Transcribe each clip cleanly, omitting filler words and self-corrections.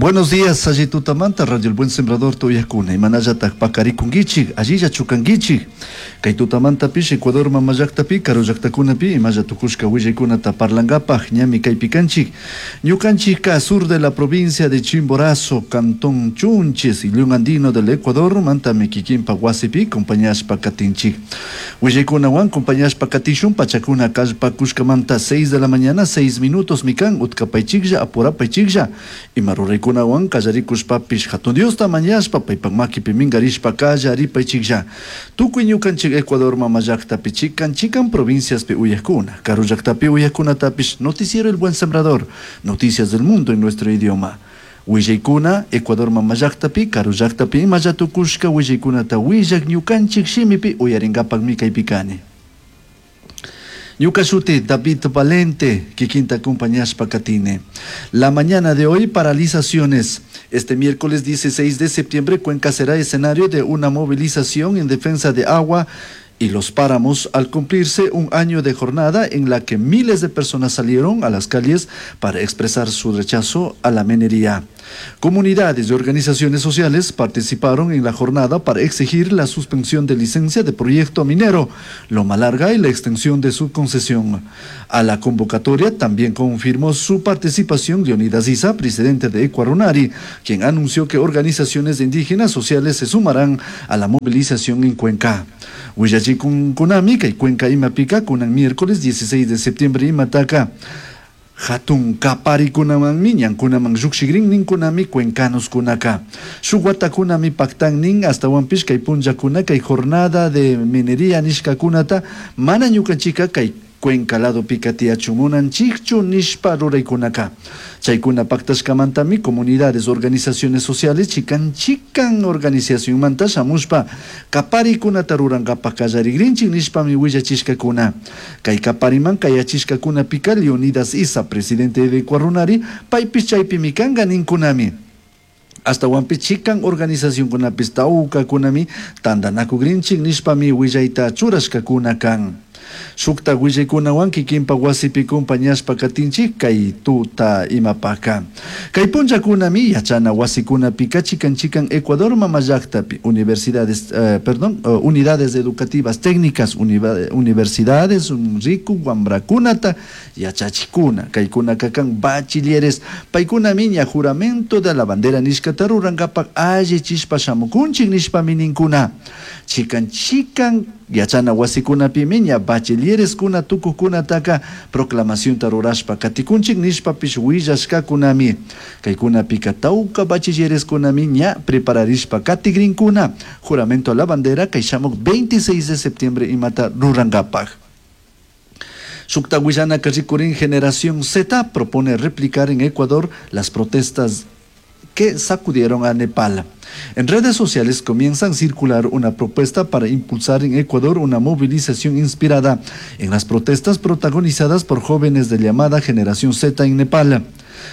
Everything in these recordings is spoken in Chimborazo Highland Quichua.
Buenos días, alli tutamanta, Radio El Buen Sembrador uyajcuna, imanallataj pacarikunguichik, allilla chukanguichik. Kay tutamantapish Ecuador mama llaktapi, karu llaktakunapi imalla tukushka willaykunata parlangapaj ñami kaypi kanchik. Ñukanchikka sur de la provincia de Chimborazo, cantón Chunches, León Andino del Ecuador, mantami kikinpa wasipi compañashpa katinchik. Willaykunawan compañashpa katishun pachakuna kallpakushkamanta 6 de la mañana, 6 minutos mikan, utkapaychiklla, apurapaychiklla, ima ruraykunawan kallarikushpapish hatun Diosta mañashpa paypak makipi minkarishpa kallaripaychiklla. Tukuy ñukanchik Ecuador mama llaktapi chikan chikan provinciaspi uyajkuna, karu llaktapi uyajkunatapish Noticiero El Buen Sembrador, noticias del mundo en nuestro idioma. Willaykuna Ecuador mama llaktapi, karu llaktapi imalla tukushka willaykunata willak ñukanchik shimipi uyaringapakmi kaypi kani. Ñuka shuti David Valente, kikinta acompañashpa katini. La mañana de hoy, paralizaciones. Este miércoles 16 de septiembre, Cuenca será escenario de una movilización en defensa de agua y los páramos al cumplirse un año de jornada en la que miles de personas salieron a las calles para expresar su rechazo a la minería. Comunidades y organizaciones sociales participaron en la jornada para exigir la suspensión de licencia de proyecto minero Loma Larga y la extensión de su concesión. A la convocatoria también confirmó su participación Leonidas Iza, presidente de Ecuarunari, quien anunció que organizaciones indígenas sociales se sumarán a la movilización en Cuenca. Willachikuncunami kay Cuenca imapika kunan miércoles 16 de septiembre imataka hatun kaparikunamanmi ñankunaman llukshikrin ninkunami cuencanoskunaka. Shuk watakunami paktan nin astawanpish kay punllakuna kay jornada de minería nishkakunata mana ñukanchika kay Cuenca ladopika tiyachun munanchikchu nishpa ruraykunaka. Chaykuna paktashkamantami comunidades, organizaciones sociales chikan chikan organizacionmanta shamushpa kaparikunata rurankapak kallarigrinchik nishpami willachishkakuna. Kay kapariman kayachishkakunapika Leonidas Iza, presidente de Ecuarunari, paypish chaypimi kanka ninkunami. Astawanpish chikan organizacionkunapish tawkakunami tantanakugrinchik nishpami willayta churashkakuna kan. Shukta willaykunawan kikinpa wasipi compañashpa katinchik kay tuta imapaka. Kay punllakunami yachana wasikunapika chikan chikan Ecuador mama llaktapi universidades, perdón, unidades educativas técnicas, universidades, riku wamrakunata yachachikuna, kaykunaka kan bachilleres, paykunami ña juramento de la bandera nishkata rurankapak allichishpa shamukunchik nishpami ninkuna. Chikan chikan yachana wasikunapimi ña bachillereskuna tukuqkunataka proclamacionta rurashpa katikunchik nishpapish willashkakunami. Kaykunapika tawka bachillereskunami ña prepararishpa katigrinkuna juramento a la bandera kay shamuk 26 de septiembre imata rurankapak. Shukta willanaka rikurin Generación Z propone replicar en Ecuador las protestas que sacudieron a Nepal. En redes sociales comienzan a circular una propuesta para impulsar en Ecuador una movilización inspirada en las protestas protagonizadas por jóvenes de llamada Generación Z en Nepal.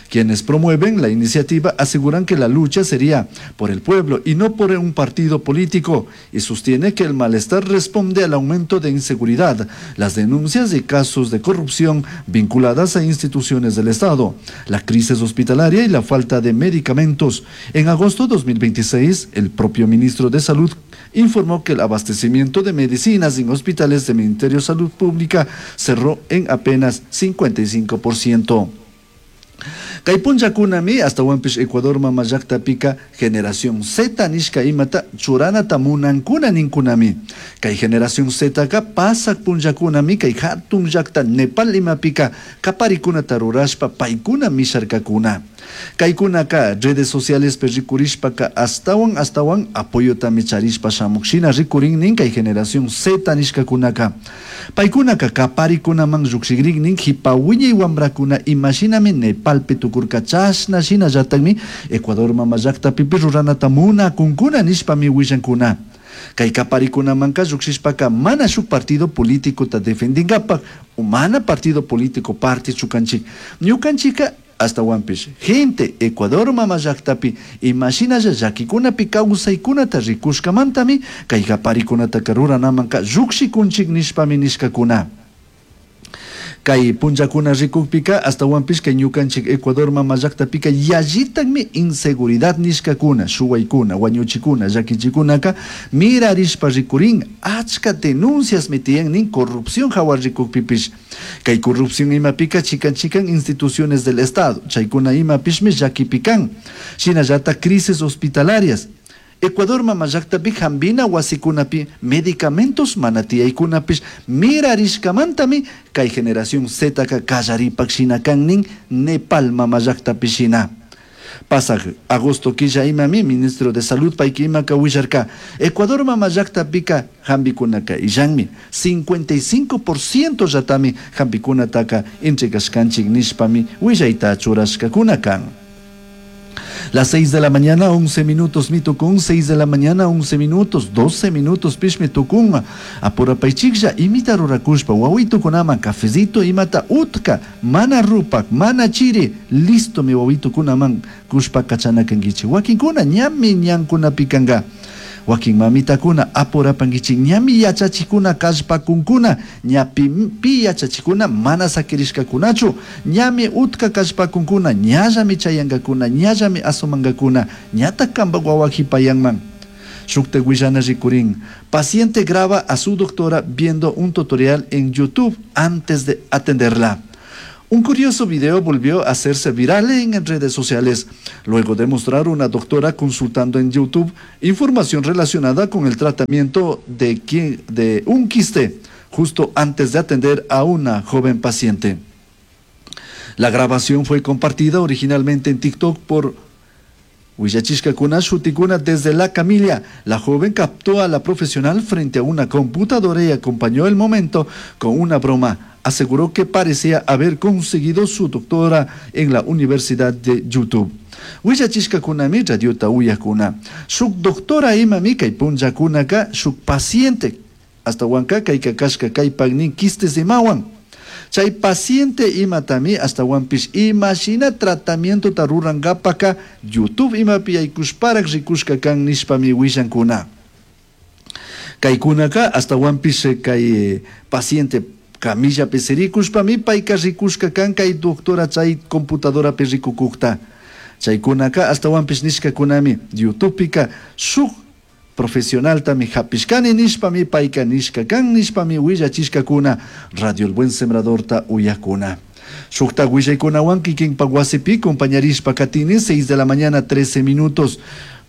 Quienes promueven la iniciativa aseguran que la lucha sería por el pueblo y no por un partido político, y sostiene que el malestar responde al aumento de inseguridad, las denuncias de casos de corrupción vinculadas a instituciones del Estado, la crisis hospitalaria y la falta de medicamentos. En agosto de 2026, el propio ministro de Salud informó que el abastecimiento de medicinas en hospitales del Ministerio de Salud Pública cerró en apenas 55%. Kay punllakunami astawanpish Ecuador mama llaktapika Generación Z nishka imata churanata munankuna ninkunami. Kay Generación Zka pasak punllakunami kay hatun llakta Nepal imapika kaparikunata rurashpa paykuna misharkakuna. Kaykunaka redes sociales rikurishpaka astawan astawan apoyotami charishpa shamuk shina rikurin nin kay Generación Z nishkakunaka. Paykunaka kaparikunaman llukshikrin nin hipa wiñay wamrakuna imashinami Nepalpi tukurka chashna shinallatakmi Ecuador mama llaktapipish ruranata munakunkuna nishpami willankuna. Kay kaparikunamanka llukshishpaka mana shuk partido políticota defendinkapak mana partido político partichu kanchik. Ñukanchika astawanpish gente Ecuador mama llaktapi imashinalla llakikunapi kawsaykunata rikushkamantami kay kaparikunataka ruranamanka llukshikunchik nishpami nishkakuna. Kay punllakuna rikukpika ashtawanpish kay ñukanchik Ecuador mama llaktapica yallitakmi inseguridad nishkakuna, shuwaykuna, wañuchikuna, llakichikunaka mirarishpa rikurin, achka denunciasmi tiyan nin corrupción hawa rikukpipish. Kay corrupción imapika chikan chikan instituciones del Estado, chaykuna imapishmi llakipi kan. Shinallatak crisis hospitalarias. Ecuador mama llaktapi hampina wasikunapi medicamentos mana tiyaykunapish mirarishkamantami kay generación Zka kallaripak shina kan nin Nepal mama llaktapi shina. Pasaq agosto killa imami ministro de Salud payki imaka willarka Ecuador mama llaktapika hampikunaka illanmi 55% llatami hampikunataka entregashkanchik nishpami willayta churashkakuna kan. Las 6 de la mañana, 11 minutos, mi tukun, 6 de la mañana, 11 minutos, 12 minutos, pishmi tukun. Apurapaychiklla, imita rurakushpa, wawitukunaman, cafecito, imata utka, mana rupak, mana chiri, listo mi wawitukunaman, kushpa kachana kankichik. Wakinkuna, ñami ñankunapi kanka. Wakin mamitakuna apurapankichik, ñami yachachikuna kallpakunkuna, ñapi pi yachachikuna mana sakirishkakunachu, ñami utka kallpakunkuna, ñallami chayankakuna, ñallami asumankakuna, ñatak kampak wawa hipayanman. Shukta willana rikurin. Paciente graba a su doctora viendo un tutorial en YouTube antes de atenderla. Un curioso video volvió a hacerse viral en redes sociales, luego de mostrar una doctora consultando en YouTube información relacionada con el tratamiento de un quiste, justo antes de atender a una joven paciente. La grabación fue compartida originalmente en TikTok por Willachishkakuna shutikuna desde la camilla. La joven captó a la profesional frente a una computadora y acompañó el momento con una broma. Aseguró que parecía haber conseguido su doctora en la Universidad de YouTube. Willachishkakunami radiota uyakuna. Shuk doctora imami kay punllakunaka shuk paciente ashtawanka kayka kashka kaypaknin quistes imawan. Chay paciente imatami ashtawanpish imashina tratamientota rurankapaka YouTube imapi yaykushparak rikushka kan nishpami willankuna. Kaykunaka ashtawanpish kay paciente camillapi sirikushpami payka rikushka kan kay doctora chay computadorapi rikukukta. Chaykunaka ashtawanpish nishkakunami YouTubepika shuk profesionaltami hapishkani nishpami payka nishka kan nishpami willachishkakuna Radio El Buen Sembradorta uyakuna. Shukta willaykunawan kikinpak wasipi compañarishpa katini 6 de la mañana 13 minutos.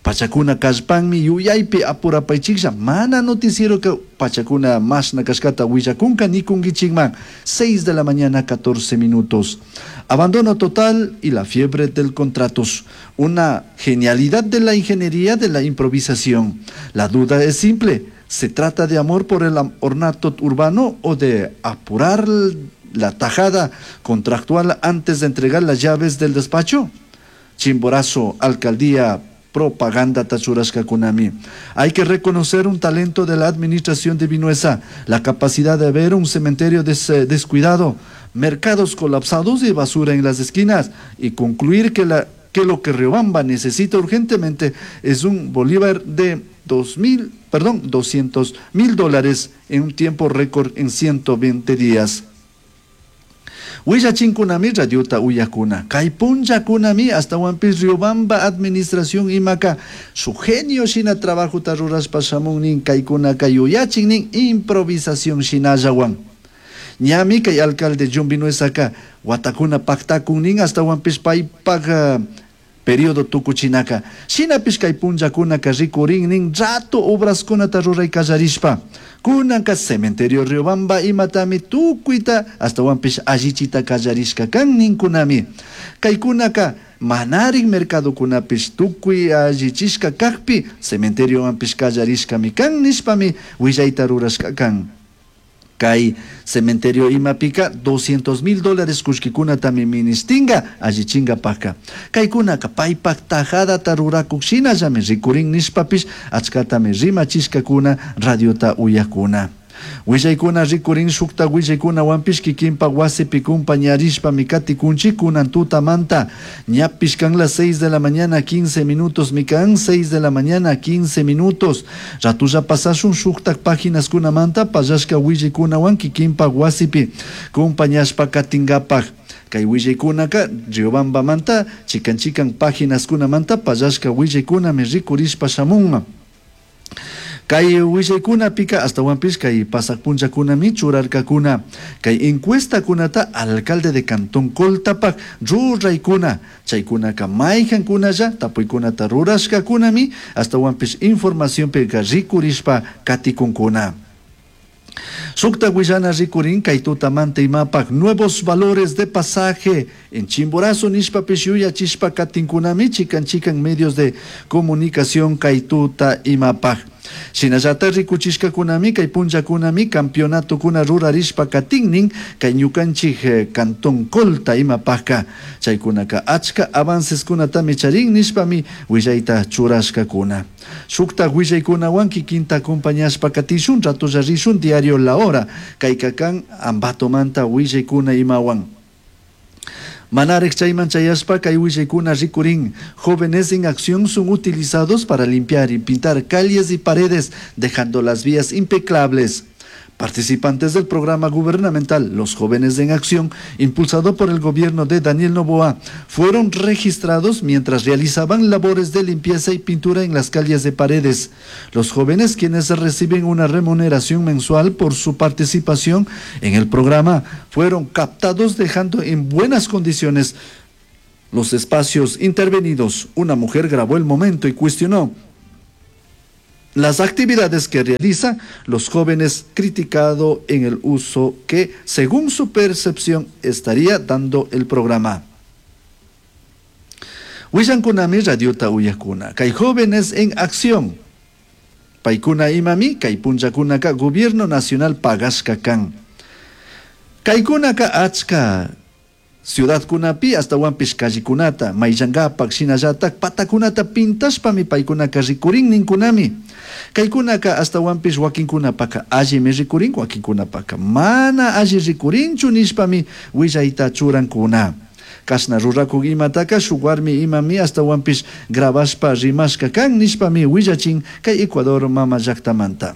Pachakuna kallpanmi yuyaypi apurapaychiklla mana noticiero ka pachakuna mashna kashkata willakunka nikunkichikman 6 de la mañana 14 minutos. Abandono total y la fiebre del contratos. Una genialidad de la ingeniería de la improvisación. La duda es simple. ¿Se trata de amor por el ornato urbano o de apurar la tajada contractual antes de entregar las llaves del despacho? Chimborazo, alcaldía, propaganda tachurashkakunami. Hay que reconocer un talento de la administración de Vinuesa, la capacidad de ver un cementerio descuidado, mercados colapsados y basura en las esquinas, y concluir que lo que Riobamba necesita urgentemente es un bolívar de $200,000 en un tiempo récord en 120 días. Willachinkunami radiota uyakuna. Kay punllakunami ashtawanpish Riobamba administración imaka su genio shina trabajota rurashpa shamun nin kaykunaka yuyachin nin improvisación shinallawan. Ñami kay alcalde John Vinuesaka watakuna paktakun nin ashtawanpish paypak periodo tukuchinaka. Shinapish kay punllakunaka rikurin nin rato obraskunata ruray kallarishpa. Kunanka cementerio Riobamba imatami tukuyta ashtawanpish allichita kallarishka kan ninkunami. Kaykunaka manarik mercadokunapish tukuy allichishka kakpi cementeriowanpish kallarishkami kan nishpami willayta rurashka kan. Kay cementerio imapika $200,000 kullkikunatami ministinga allichinkapaka. Kaykunaka paypak tajadata rurakuk shinallami rikurin nishpapish achkatami rimachishkakuna radiota uyakuna. Willaykuna rikurin shukta willaykunawanpish kikinpak wasipi kumpañarishpami katikunchik kunan tutamanta. Ñapish kan las 6 de la mañana 15 minutos mi kan 6 de la mañana 15 minutos. Ratulla pasashun shuktak paginaskunamanta pallashka willaykunawan kikinpak wasipi kumpañashpa katinkapak. Kay willaykunaka Riobambamanta chikan chikan paginaskunamanta pallashka willaykunami rikurishpa shamunma. Kay willaykunapika astawanpish kay pasaq punllakunami churarkakuna. Kay encuestakunata alcalde de Cantón Coltapak ruraykuna. Chaykunaka mayhankunalla tapuykunata rurashkakunami astawanpish informacionpika rikurishpa katikunkuna. Sukta willana rikurin kay tutamanta imapak nuevos valores de pasaje en Chimborazo nishpapish yuyachishpa katinkunami chikan chikan medios de comunicación kay tuta imapak. Shinallata rikuchishkakunami kay punllakunami campeonatokuna rurarishpa katinnin kay ñukanchik Cantón Colta imapakka. Chaykunaka achka avanceskunatami charin nishpami willayta churashkakuna. Shukta willaykunawan kikinta acompañashpa katishun ratolla rishun diario La Hora kayka kan Ambatomanta willaykuna imawan. Manarek chayman chayashpa kay willaykuna rikurin. Jóvenes en acción son utilizados para limpiar y pintar calles y paredes, dejando las vías impecables. Participantes del programa gubernamental Los Jóvenes en Acción, impulsado por el gobierno de Daniel Noboa, fueron registrados mientras realizaban labores de limpieza y pintura en las calles de Paredes. Los jóvenes, quienes reciben una remuneración mensual por su participación en el programa, fueron captados dejando en buenas condiciones los espacios intervenidos. Una mujer grabó el momento y cuestionó las actividades que realizan los jóvenes, criticado en el uso que, según su percepción, estaría dando el programa. Willankunami radiota uyakuna, kay jóvenes en acción. Paykuna imami, kay punllakunaka gobierno nacional pagashka kan. Kaykunaka achka ciudadkunapi astawanpish callekunata, mayllankapak, shinallatak patakunata pintashpami paykunaka rikurin ninkunami. Kaykunaka astawanpish wakinkunapaka allimi rikurin, wakinkunapaka mana alli rikurinchu nishpami willayta churankuna. Kashna rurakuk imataka shuk warmi imami astawanpish grabashpa rimashka kan nishpami willachin kay Ecuador mama llaktamanta.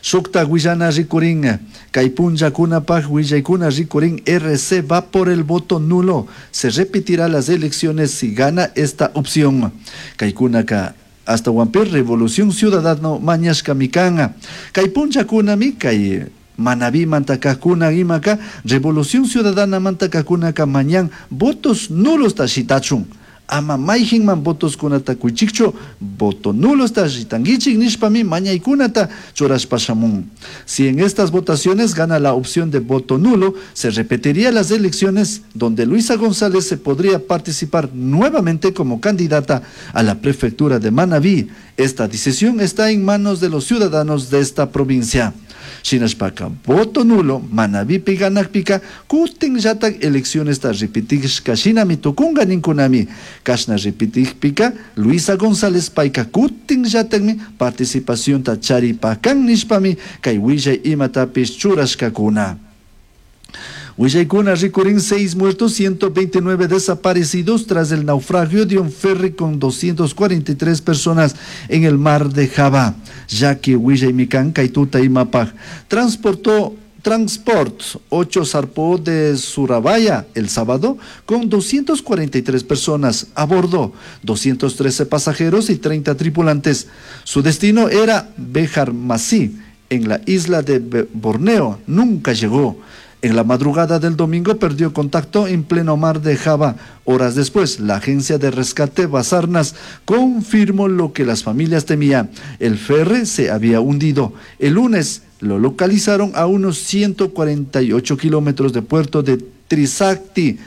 Shukta willana rikurin, kay punllakunapak willaykuna rikurin, RC va por el voto nulo. Se repetirá las elecciones si gana esta opción. Kaykunaka astawanpish Revolución Ciudadano mañashkami kan. Kay punllakunami kay Manabí mantakakuna imaka Revolución Ciudadana mantakakunaka mañan votos nulos tashitachun. Ama mayjinman votos kunata kuychikchu, voto nulo tashitanguichik nishpami mañaykunata churashpa shamun. Si en estas votaciones gana la opción de voto nulo, se repetiría las elecciones donde Luisa González se podría participar nuevamente como candidata a la prefectura de Manabí. Esta decisión está en manos de los ciudadanos de esta provincia. Shinashpaka voto nulo, Manabí ganakpika, kutin llatak elecciones ta repetishka shinami tukunga ninkunami. Kashna repetikpika, Luisa González payka kutin llatakmi participación ta charipakan nishpami kay willay imatapish churashkakuna. Willaykuna rikurin 6 muertos, 129 desaparecidos tras el naufragio de un ferry con 243 personas en el mar de Java. Ya que Willaymikan, Kaituta y Mapaj transportó Transport 8 zarpó de Surabaya el sábado con 243 personas a bordo, 213 pasajeros y 30 tripulantes. Su destino era Bejar Masih, en la isla de Borneo. Nunca llegó. En la madrugada del domingo perdió contacto en pleno mar de Java. Horas después, la agencia de rescate Basarnas confirmó lo que las familias temían. El ferry se había hundido. El lunes lo localizaron a unos 148 kilómetros de puerto de Trisakti,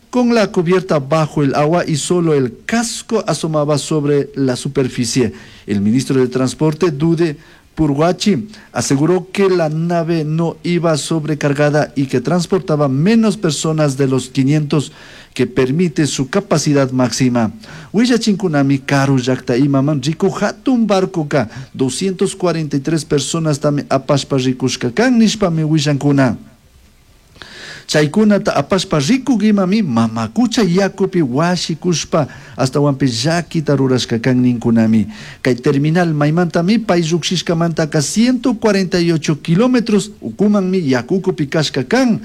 con la cubierta bajo el agua y solo el casco asomaba sobre la superficie. El ministro de Transporte, Dude Purguachi aseguró que la nave no iba sobrecargada y que transportaba menos personas de los 500 que permite su capacidad máxima. Willachinkunami karu llakta imaman rikuj hatun barcoka 243 personastami apashpa rikushka kan nishpami willankuna. Chaykunata apashpa rikuk imami mama kucha yakupi washikushpa ashtawanpish llakita rurashka kan ninkunami. Kay terminal maymantami pay llukshishkamantaka 148 kilómetros ukumanmi yaku ukupi kashka kan.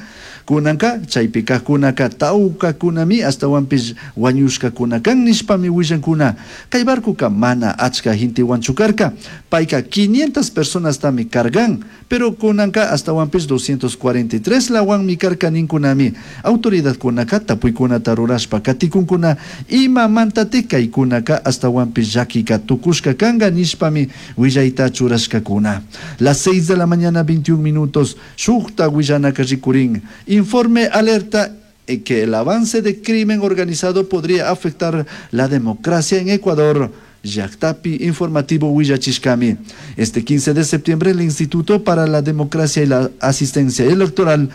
Kunanka chaypi kajkunaka tawkakunami ashtawanpish wañushkakuna kan nishpami willankuna. Kay barcoka mana achka gentewanchu karka. Payka 500 personastami cargan. Pero kunanka ashtawanpish 243 lawanmi karka ninkunami. Autoridadkunaka tapuykunata rurashpa katikunkuna imamantatik kaykunaka ashtawanpish llakika tukushka kanka nishpami willayta churashkakuna. Las 6 de la mañana 21 minutos, shukta willanaka rikurin. Informe alerta que el avance de crimen organizado podría afectar la democracia en Ecuador. Llaktapi informativo willachishkami. Este 15 de septiembre el Instituto para la Democracia y la Asistencia Electoral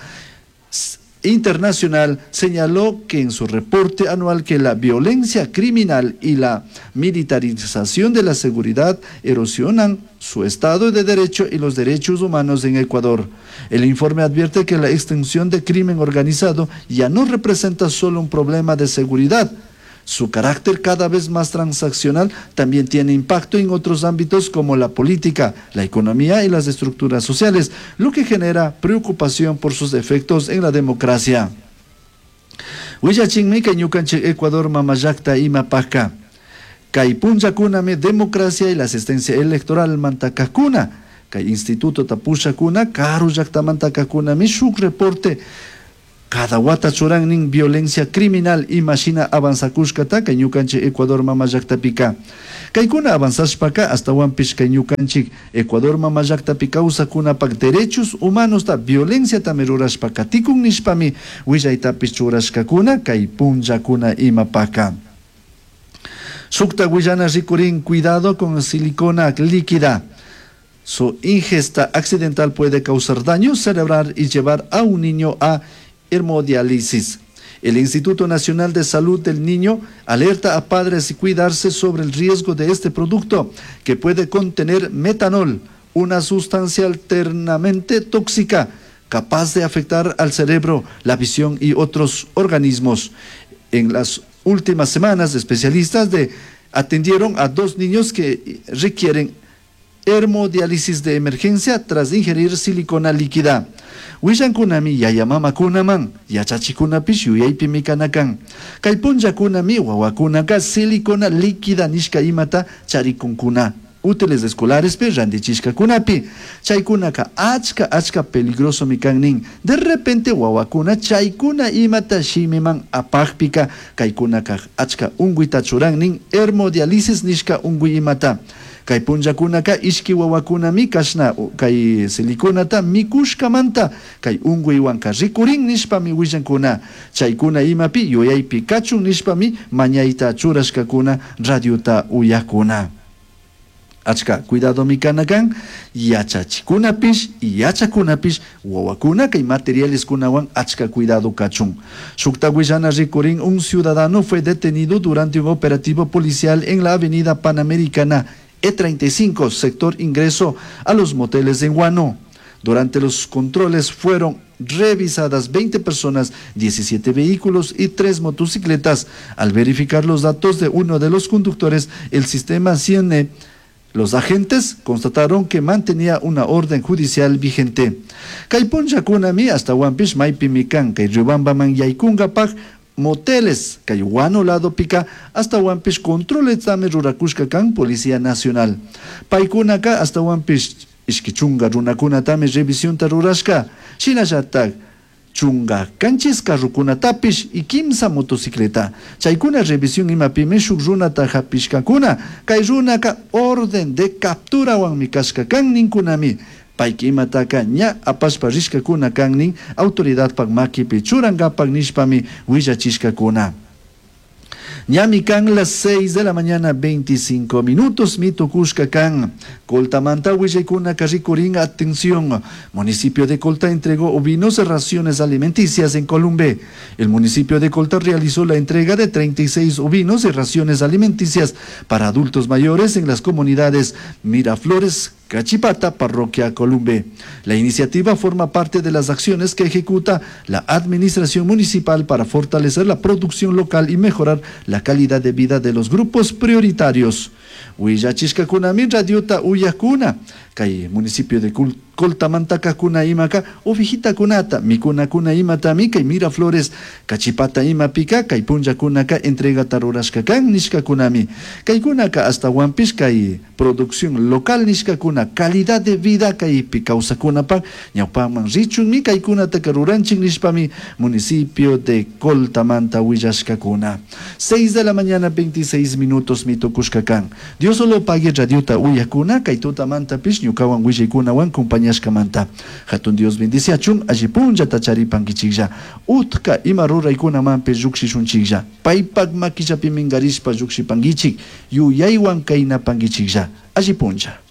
Internacional señaló que en su reporte anual que la violencia criminal y la militarización de la seguridad erosionan su Estado de Derecho y los derechos humanos en Ecuador. El informe advierte que la extensión de crimen organizado ya no representa solo un problema de seguridad. Su carácter cada vez más transaccional también tiene impacto en otros ámbitos como la política, la economía y las estructuras sociales, lo que genera preocupación por sus efectos en la democracia. Willachinmi kay ñukanchik Ecuador mamallakta imapajka. Kay punllakunami democracia y la asistencia electoral mantakakuna. Kay instituto tapushakuna karu llaktamantakakkunami shuk reporte cada wata churannin violencia criminal imashina avanzakushkata kay ñukanchik Ecuador mama llaktapika. Kaykuna avanzashpaka ashtawanpish kay ñukanchik Ecuador mama llaktapi kawsakunapak derechos humanosta violenciatami rurashpa katikun nishpami willaytapish churashkakuna kay punllakuna imapaka. Shukta willana rikurin cuidado con silicona líquida. Su ingesta accidental puede causar daño cerebral y llevar a un niño a hemodiálisis. El Instituto Nacional de Salud del Niño alerta a padres y cuidarse sobre el riesgo de este producto, que puede contener metanol, una sustancia alternamente tóxica, capaz de afectar al cerebro, la visión y otros organismos. En las últimas semanas, especialistas atendieron a 2 niños que requieren hemodiálisis de emergencia tras ingerir silicona líquida. Willankunami yaya mamakunaman, yachachikunapish yuyaypimi kanakan. Kay punllakunami wawakunaka silicona líquida nishka imata charikunkuna. Útiles escolarespi randichishkakunapi. Chaykunaka achka achka peligrosomi kan nin. De repente wawakuna chaykuna imata shimiman apajpika kaykunaka achka unguyta churan nin hemodiálisis nishka unguy imata. Kay punllakunaka ishki wawakunami kashna kay siliconata mikushkamanta kay unguywanka rikurin nishpami willankuna. Chaykuna imapi yuyaypi kachun nishpami mañayta churashkakuna radiota uyakuna. Achka cuidadomi kanakan yachachikunapish y yachakunapish wawakuna kay materiales kunawan achka cuidado kachun. Shukta willana rikurin un ciudadano fue detenido durante un operativo policial en la avenida Panamericana E35, sector ingreso a los moteles en Guano. Durante los controles fueron revisadas 20 personas, 17 vehículos y 3 motocicletas. Al verificar los datos de uno de los conductores, el sistema CNE, los agentes constataron que mantenía una orden judicial vigente. Kay punllakunami hasta Huampish maypimi kan, kay Riobambaman yaykunkapaj moteles, kay Guano lado pica, hasta Huampish controles tami rurakushka kan Policía Nacional. Paykunaka hasta Huampish ishki chunga runakunatami revisionta rurashka, shinallatak chunga kanchis carrukunatapish y kimsa motocicleta. Chaykuna revisión imapimi shuk runata hapishkakuna, kay runaka orden de capturawanmi kashka kan ninkunami. Payki imataka ña apashpa rishkakuna kan nin autoridadpak makipi churankapak nishpami willachishkakuna. Ñami kan las 6 de la mañana 25 minutos mitukushka kan. Coltamanta willaykuna rikurin atención. Municipio de Colta entregó ovinos raciones alimenticias en Columbe. El municipio de Colta realizó la entrega de 36 ovinos y raciones alimenticias para adultos mayores en las comunidades Miraflores, Cachipata, Parroquia Columbe. La iniciativa forma parte de las acciones que ejecuta la administración municipal para fortalecer la producción local y mejorar la calidad de vida de los grupos prioritarios. Willachishkakunami radiota uyakuna kay municipio de Coltamantakakuna imaka ovejitakunata mikunakuna imatami kay Miraflores Cachipata imapika kay punllakunaka entregata rurashka kan nishkakunami kaykunaka ashtawanpish kay producción local nishkakuna calidad de vida kaypi kawsakunapak ñawpaman richunmi kaykunataka ruranchik nishpami municipio de Coltamanta willashkakuna. 6 de la mañana 26 minutos mitukushka kan. Dios solo pague radiota uyakuna kay tutamantapish ñukawan willaykunawan compañashkamanta. Hatun Dios bendiciachun alli punllata charipankichiklla. Utka ima ruraykunamanpish llukshishunchiklla. Paypak makillapi minkarishpa llukshipankichik yuyaywan kaynapankichiklla. Alli punlla.